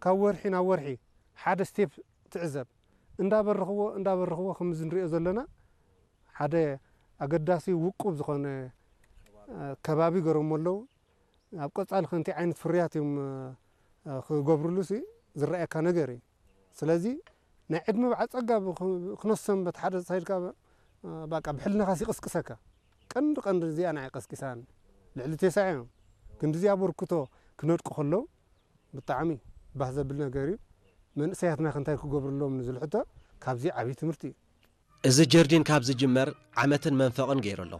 ካብ ወርሒ ናብ ወርሒ ሓደ ስቴፕ ትዕዘብ። እንዳበረኽዎ እንዳበረኽዎ ከምዚ ንሪኦ ዘለና ሓደ ኣገዳሲ ውቁብ ዝኾነ ከባቢ ገሮሞ ኣለዉ። ኣብ ቀጻሊ ከምቲ ዓይነት ፍርያት እዮም ክገብርሉ ሲ ዝረኣየካ ነገር እዩ። ስለዚ ናይ ዕድመ በዓል ጸጋ ክነሰንበት ሓደ ሳይድካ ባቃ ብሕልናኻ ይቕስቅሰካ። ቀንዲ ቀንዲ እዚኣ ንዓይ ቀስቂሳኒ። ልዕሊ ቴሳዕ እዮም ክንድዚ ኣበርክቶ ክነድቁ ከለዉ ብጣዕሚ ባህ ዘብል ነገር እዩ። መንእሰያትና ከ እንታይ ክገብርሎም ንዝብል ሕቶ ካብዚ ዓብዪ ትምህርቲ እዩ። እዚ ጀርዲን ካብ ዝጅመር ዓመትን መንፈቕን ገይሩ ኣሎ።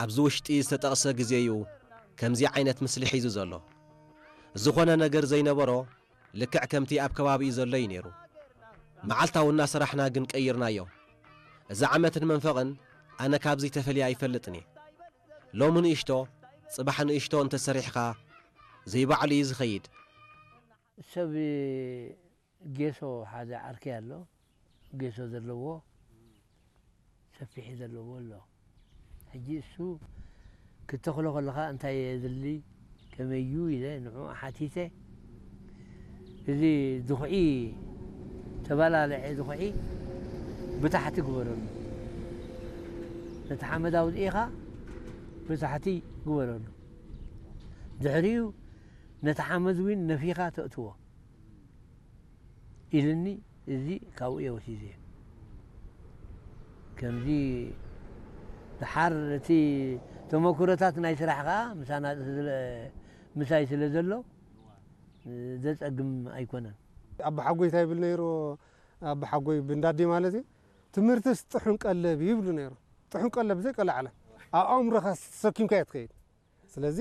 ኣብዚ ውሽጢ ዝተጠቕሰ ግዜ እዩ ከምዚ ዓይነት ምስሊ ሒዙ ዘሎ። ዝኾነ ነገር ዘይነበሮ ልክዕ ከምቲ ኣብ ከባቢኡ ዘሎ እዩ ነይሩ። መዓልታዊ እናሰራሕና ግን ቀይርናዮ። እዚ ዓመትን መንፈቕን ኣነ ካብዚ ተፈልየ ኣይፈልጥን እየ። ሎሚ ንእሽቶ፣ ጽባሕ ንእሽቶ እንተሰሪሕኻ ዘይባዕሉ እዩ ዝኸይድ። ሰብ ጌሶ ሓደ ዓርከይ ኣሎ፣ ጌሶ ዘለዎ ሰፊሕ ዘለዎ ኣሎ። ሕጂ እሱ ክተኽሎ ከለኻ እንታይ የድሊ ከመይ እዩ ኢለ ንዕኡ ሓቲተ። እዚ ድኹዒ ተባላልዐ ድኹዒ ብታሕቲ ግበረሉ። ነቲ ሓመድ ኣውፂእኻ ብታሕቲ ግበረሉ። ድሕሪኡ ነቲ ሓመድ እውን ነፊኻ ተእትዎ። ኢልኒ። እዚ ካብኡ እየ ወሲዘዮ። ከምዚ ድሓር እቲ ተመኩሮታት ናይ ስራሕ ከዓ ምሳና ስለ ምሳይ ስለ ዘሎ ዘፀግም ኣይኮነን። ኣቦሓጎይ እንታይ ይብል ነይሩ? ኣቦሓጎይ ብንዳዲ ማለት እዩ። ትምህርትስ ጥሑን ቀለብ እዩ ይብሉ ነይሩ። ጥሑን ቀለብ ዘይቀላዕለ ኣብ ኣእምሮኻ ተሰኪምካዮ ትኸይድ። ስለዚ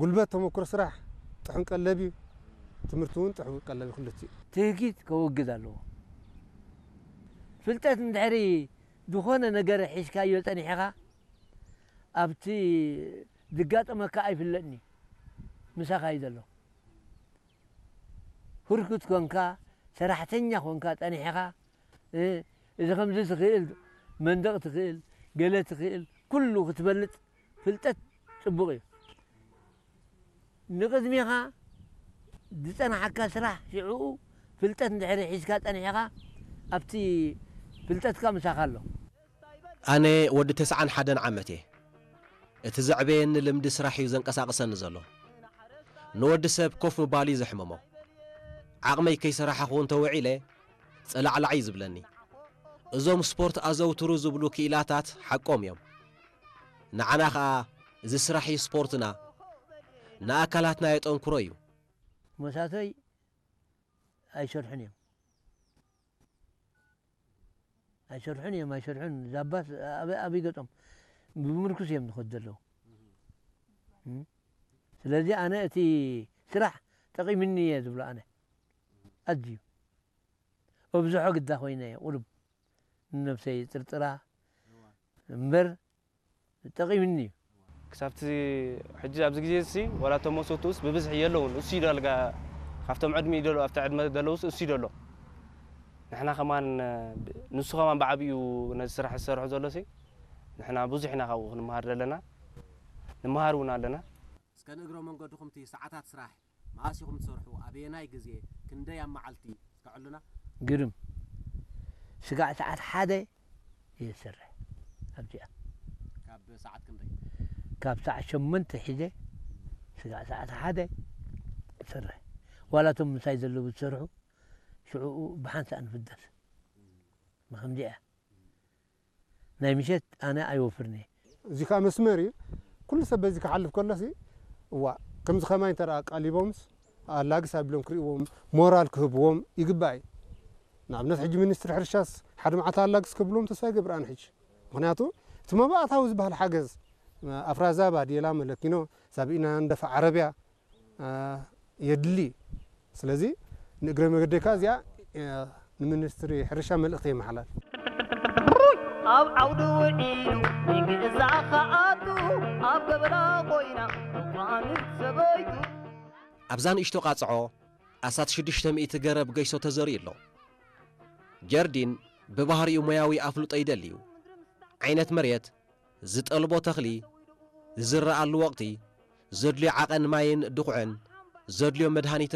ጉልበት ተመክሮ ስራሕ ጥሑን ቀለብ እዩ። ትምህርቲ እውን ጥሑን ቀለብ እዩ። ክልቲኡ። ትህኪት ከወግድ ኣለዎ። ፍልጠት እንድሕሪ ዝኾነ ነገር ሒዝካዮ ጸኒሕኻ ኣብቲ ዝጋጠመካ ኣይፍለጥን እዩ። ምሳኻ እዩ ዘሎ። ህርኩት ኮንካ ሰራሕተኛ ኮንካ ጸኒሕኻ እዚ ከምዚ ትኽእል መንደቕ ትኽእል ገለ ትኽእል ኩሉ ክትፈልጥ ፍልጠት ጽቡቕ እዩ። ንቕድሜኻ ዝጸናሓካ ስራሕ ሽዕኡ ፍልጠት እንድሕሪ ሒዝካ ጸኒሕኻ ኣብቲ ፍልጠትካ ምሳኻ ኣሎ። ኣነ ወዲ ተስዓን ሓደን ዓመት እየ። እቲ ዘዕበየኒ ልምዲ ስራሕ እዩ ዘንቀሳቕሰኒ ዘሎ። ንወዲ ሰብ ኮፍ ምባል እዩ ዘሕምሞ። ዓቕመይ ከይሰራሕኹ እንተውዒለ ጸላዕላዕ እዩ ዝብለኒ። እዞም ስፖርት ኣዘውትሩ ዝብሉ ክኢላታት ሓቆም እዮም። ንዓና ኸኣ እዚ ስራሕ እዩ ስፖርትና፣ ንኣካላትና የጠንክሮ እዩ። መሳቶይ ኣይሰርሑን እዮም ኣይሰርሑን እዮም ኣይሰርሑን ዛባስ ኣበይ ገጦም ብምርኩስ እዮም ዝኸዱ ዘለዉ። ስለዚ ኣነ እቲ ስራሕ ጠቒምኒ እየ ዝብሎ ኣነ ኣዝዩ ኣብዝሖ ግዳ ኮይነ እየ ቁሩብ ንነብሰይ ጥርጥራ እምበር ጠቒምኒ እዩ። ክሳብቲ ሕጂ ኣብዚ ግዜ እዚ ዋላ እቶም መሰትኡስ ብብዝሒ የለውን። እሱ እዩ ዳልጋ ካብቶም ዕድሚኡ ደሎ ኣብቲ ዕድመ ደለውስ እሱ እዩ ደሎ። ንሕና ከማን ንሱ ከማን ብዓቢኡ ነዚ ስራሕ ዝሰርሖ ዘሎ ሲ ንሕና ብዙሕ ኢና ካብኡ ክንመሃር ዘለና ንመሃር እውን ኣለና። እስከ ንእግረ መንገድኹም እቲ ሰዓታት ስራሕ መኣስ ኢኹም ትሰርሑ? ኣበየናይ ግዜ? ክንደይ ኣብ መዓልቲ? እስከ ዕሉና። ግርም ስጋዕ ሰዓት ሓደ እየ ዝሰርሕ ኣብዚኣ። ካብ ሰዓት ክንደይ? ካብ ሰዓት ሸሞንተ ሒዘ ስጋዕ ሰዓት ሓደ እሰርሕ። ዋላ እቶም ምሳይ ዘለዉ ዝሰርሑ ሽዕኡ ብሓንሳእ ንፍደስ። ብኸምዚኣ ናይ ምሸት ኣነ ኣይወፍርን እየ። እዚ ከዓ መስመር እዩ። ኩሉ ሰብ በዚ ክሓልፍ ከሎሲ እዋ ከምዚ ከማይ እንተ ደኣ ኣቃሊቦምስ ኣላግስ ኣቢሎም ክርእይዎም ሞራል ክህብዎም ይግባእ እዩ። ንኣብነት ሕጂ ሚኒስትሪ ሕርሻስ ሓደ መዓልቲ ኣላግስ ክብልዎም ተስፋ ይገብር ኣነ ሕጂ። ምኽንያቱ እቲ መባእታዊ ዝበሃል ሓገዝ ኣፍራዛ፣ ባዴላ፣ መለኪኖ፣ ሳብኢና፣ ንደፋ ዓረብያ የድሊ። ስለዚ ንእግረ መገደይ ከኣ እዚኣ ንሚኒስትሪ ሕርሻ መልእኽቲ የመሓላልፍ። ኣብ ዓውዲ ውዒሉ ንግእዛ ከኣቱ ኣብ ገበላ ኮይና እኳ ምስ ሰበይቱ ኣብዛ ንእሽቶ ቃጽዖ ኣስታት ሽዱሽተ ሚእቲ ገረብ ገይሶ ተዘሪኡ ኣሎ። ጀርዲን ብባህሪኡ ሞያዊ ኣፍልጦ ይደሊ እዩ። ዓይነት መሬት፣ ዝጠልቦ ተኽሊ፣ ዝዝረኣሉ ወቕቲ፣ ዘድልዮ ዓቐን ማይን ድኹዕን፣ ዘድልዮ መድሃኒትን